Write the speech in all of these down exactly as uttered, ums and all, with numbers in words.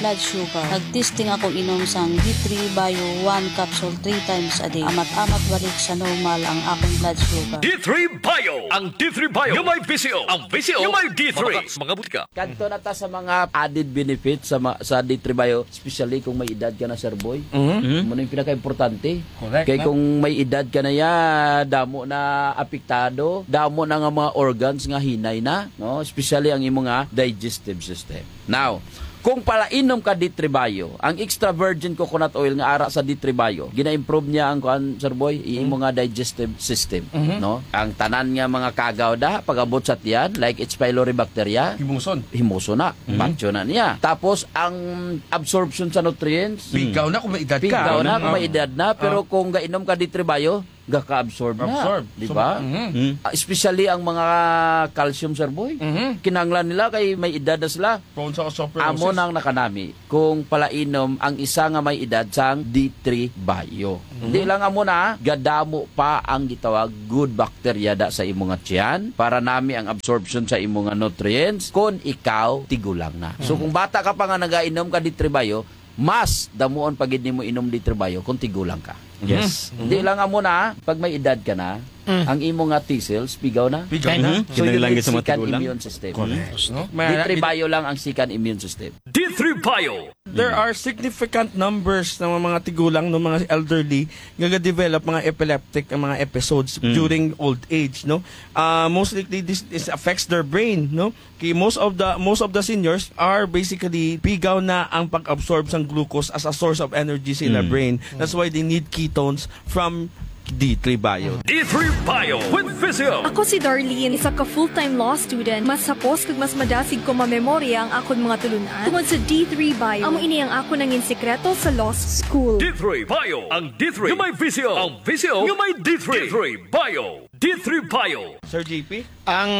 blood sugar. Nag-testing akong inom sang D three Bio one capsule three times a day. Amat-amat balik sa normal ang akong blood sugar. D three Bio, ang D three Bio nga may V C O, ang V C O nga may D three. Mga butika. Kadto na ta sa mga added benefits sa ma-, sa D three Bio, especially kung may edad ka na, Sir Boy. Mhm. Mo na yung pinaka-importante. Correct, kay no? Kung may edad ka na ya, damo na apektado, damo na nga mga organs nga hinay na, no? Especially ang imo nga digestive system. Now, kung palainom ka D three Bio, ang extra virgin coconut oil nga ara sa D three Bio, gina-improve niya ang kuan, Sir Boy, i-, imo nga digestive system, mhm, no? Ang tanan nga mga kagaw da, pag-abot sa tiyan, like H. pylori bacteria, himuson, himuson na, mhm, patyo na niya. Tapos, ang absorption sa nutrients, pigaw na kung may edad ka. Pigaw na kung may edad na, pero, ah, kung gainom ka D three Bio, gaka-absorb na, absorb, di ba? So, mhm. Mm. Ah, especially ang mga calcium, Sir Boy. Mhm. Kinahanglan nila kay may edad na sila. Prone sa osteoporosis. Amo nang nakanami kung palainom ang isa nga may edad sang D three Bio. Mhm. Di lang amo na, gadamo pa ang gitawag good bacteria da sa imo nga tiyan para nami ang absorption sa imo nga nutrients kung ikaw tigulang na. So, mhm, kung bata ka pa nga nagainom ka D three Bio, mas damuon pa gid nimo inom D three Bio kung tigulang ka. Yes. Mhm. Hindi lang amo na, pag may edad ka na, mm, ang imo nga T cells, pigaw na. Pigaw na. Mhm. So, yun kinahanglan yung sa mga second tigulang, immune system. Correct. No? D three Bio lang ang second immune system. D three Bio. There are significant numbers ng mga tigulang, no, mga elderly, nga ga-develop mga epileptic ang mga episodes, mm, during old age, no? Ah, most likely, this, this affects their brain, no? Kay most of the, most of the seniors are basically pigaw na ang pag-absorb sang glucose as a source of energy sa ila, mm, brain. That's why they need ketones from D three Bio. D three Bio with Physio. Ako si Darlene, isa ka full-time law student. Mas hapos kag mas madasig ko mamemorya ang akon mga tulunan tungod sa D three Bio. Amo ini ang akon nangin sikreto sa law school. D three Bio, ang D three nga may V C O, ang V C O nga may D three. D three Bio. D three Bio. Sir J P? Ang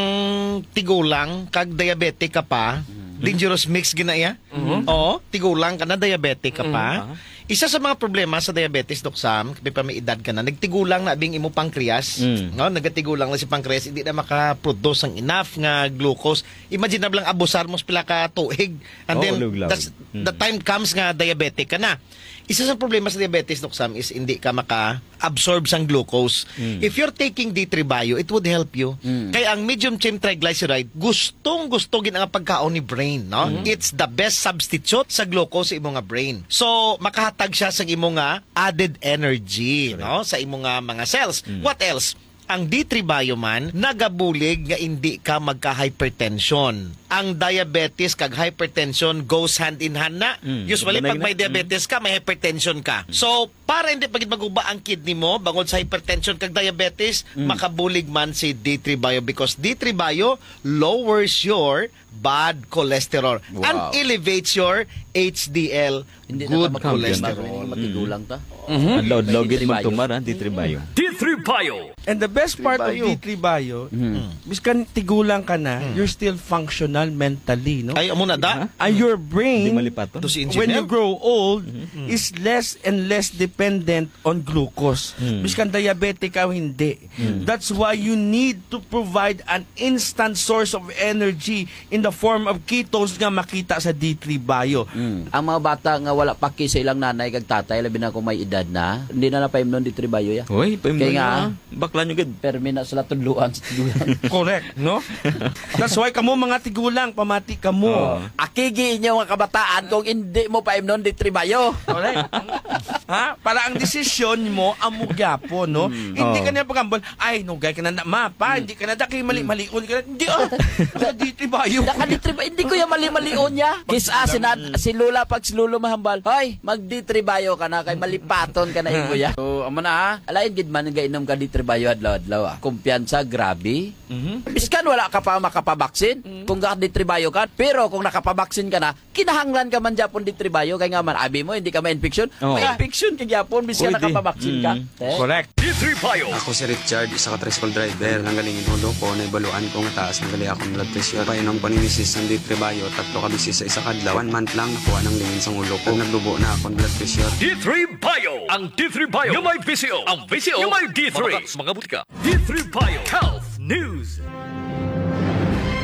tigulang kag diabetic ka pa, mhm, dangerous mix gina iya. Mhm. Oo, tigulang ka na, diabetic ka pa. Mhm. Aha. Isa sa mga problema sa diabetes, Doc Sam, kapag pa may edad ka na, nagtigulang na bing imo pancreas. Mm. No? Nagatigulang na si pancreas, hindi na makaproduce ang enough nga glucose. Imagine na lang abusar mo sa pila ka tuig. And, oo, then, luglaw, that's, mm, the time comes nga diabetic ka na. Isa sa problema sa diabetes, Doc Sam, is hindi ka maka-absorb sang glucose. Mm. If you're taking D three Bio, it would help you. Mm. Kay ang medium chain triglyceride, gustong-gusto gid ang pagkaon ni brain, no? Mm. It's the best substitute sa glucose sa imo nga brain. So, makahatag siya sa imo nga added energy, correct, no? Sa imo nga mga cells. Mm. What else? Ang D three Bio man nagabulig nga indi ka magka-hypertension. Ang diabetes kag hypertension goes hand in hand na. Mm, usually, pag may diabetes ka, may hypertension ka. Mm. So, para hindi pa gid maguba ang kidney mo bangod sa hypertension kag diabetes, mm, makabulig man si D three Bio because D three Bio lowers your bad cholesterol and, wow, elevates your H D L, hindi na good ta cholesterol. Hindi matigulang ta. Mhm. Adlaw-adlaw gid magtumar, ha, D three Bio. D three Bio. And the best part of D three Bio, mm, biskan tigulang ka na, mm, you're still functional mentally, no? Ay, amo na da. Ha? And your brain, hindi malipaton. To si engineer, when you grow old, mm, is less and less dependent on glucose. Mm. Biskan diabetic ka o hindi. Mm. That's why you need to provide an instant source of energy in the form of ketones nga makita sa D three Bio. Mm. Ang mga bata nga wala paki sa ilang nanay kag tatay, labi na kung may edad na, hindi na napaimnon D three Bio ya. Hoy, paimnon. Kaya nga, na. Bakla nyo gid. Permi na sila tudluan sa tigulang. Correct, no? That's why kamo mga tigulang, pamati kamo. Oo. Akigi inyo nga kabataan kung hindi mo paimnon D three Bio. Correct. Ha? Para ang desisyon mo, amo gyapon, no? Mm. Hindi, oo, ka na pagambal, "Ay, nugay ka na, na, ma, pa, mm, hindi ka na da, kay mali-malion ka na." Hindi, ah. Naka-D three Bio. Naka-D three Bio. Hindi ko yung mali-malion niya. Kis-a, si, si Lola, pag si Lolo mahambal, "Hoy, mag-D three Bio ka na, kay malipaton ka na imo ya." So, amo na, ha? Alain gid man nga inom ka D three Bio adlaw-adlaw, ah. Kumpiyansa, grabe. Mhm. Biskan wala ka pa makapabaksin, mhm, kung ga-D three Bio ka, pero kung nakapabaksin ka na, kinahanglan ka man gyapon D three Bio, kay nga man, abi mo, hindi ka ma-infection. Oh. Ma-infection ka gyapon, biskan nakapabaksin ka. Pwede. Mm. Eh? Correct. D three Bio. Ako si Richard, isa ka tricycle driver. Nanggaling in ulo ko, naibaluan ko nga taas na gali akong blood pressure. Painom ko ni misis ang D three Bio, tatlo ka beses sa isa ka adlaw. One month lang, nakuha nang lingin sang ulo ko. Naglubo na akong blood pressure. D three Bio. Ang D three Bio nga may V C O. Ang V C O nga may D three. Mga, mga butika. D three Bio Health News.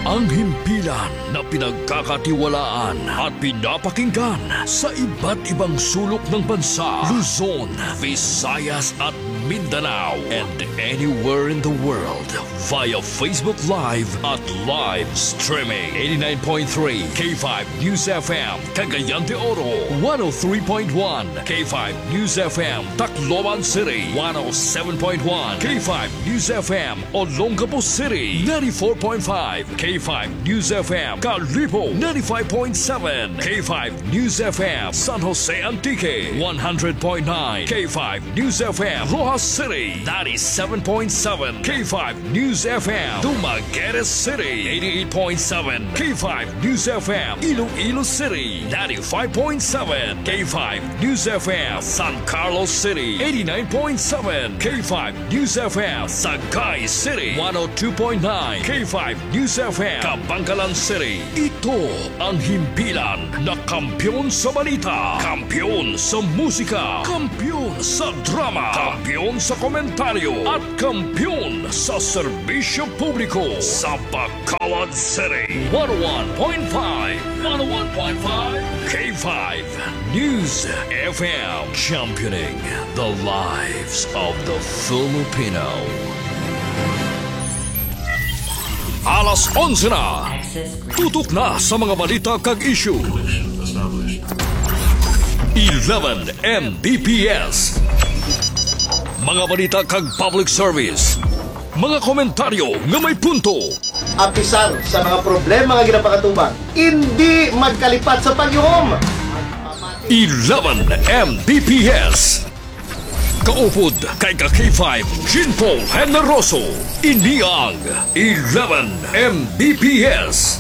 Ang himpilan na pinagkakatiwalaan at pinapakinggan sa iba't ibang sulok ng bansa, Luzon, Visayas at Mindanao, and anywhere in the world via Facebook Live at live streaming. Eighty-nine point three K five News F M, Cagayan de Oro, one oh three point one K five News F M, Tacloban City, one oh seven point one K five News F M, Olongapo City, ninety-four point five K five News F M, Kalibo, ninety-five point seven K five News F M, San Jose Antique, one hundred point nine K five News F M, Roxas City, ninety-seven point seven K five News F M, Dumaguete City, eighty-eight point seven K five News F M, Iloilo City, ninety-five point seven K five News F M, San Carlos City, eighty-nine point seven K five News F M, Sagay City, one oh two point nine K five News F M, Kabankalan City. Ito ang himpilan na kampiyon sa balita, kampiyon sa musika, kampiyon sa drama, kampiyon sa komentaryo, at kampiyon sa serbisyo publiko sa Bacolod City. One oh one point five, one oh one point five K five News F M, championing the lives of the Filipino. Alas onse na. Tutok na sa mga balita kag issue. Eleven M B P S. Mga balita kag public service. Mga komentaryo nga may punto. Apisar sa mga problema nga ginapakatubang, indi magkalipat sa pagyuhom. Eleven M B P S. Kaupod kay ka K five, Jean Paul Generoso. Ini ang Eleven M B P S.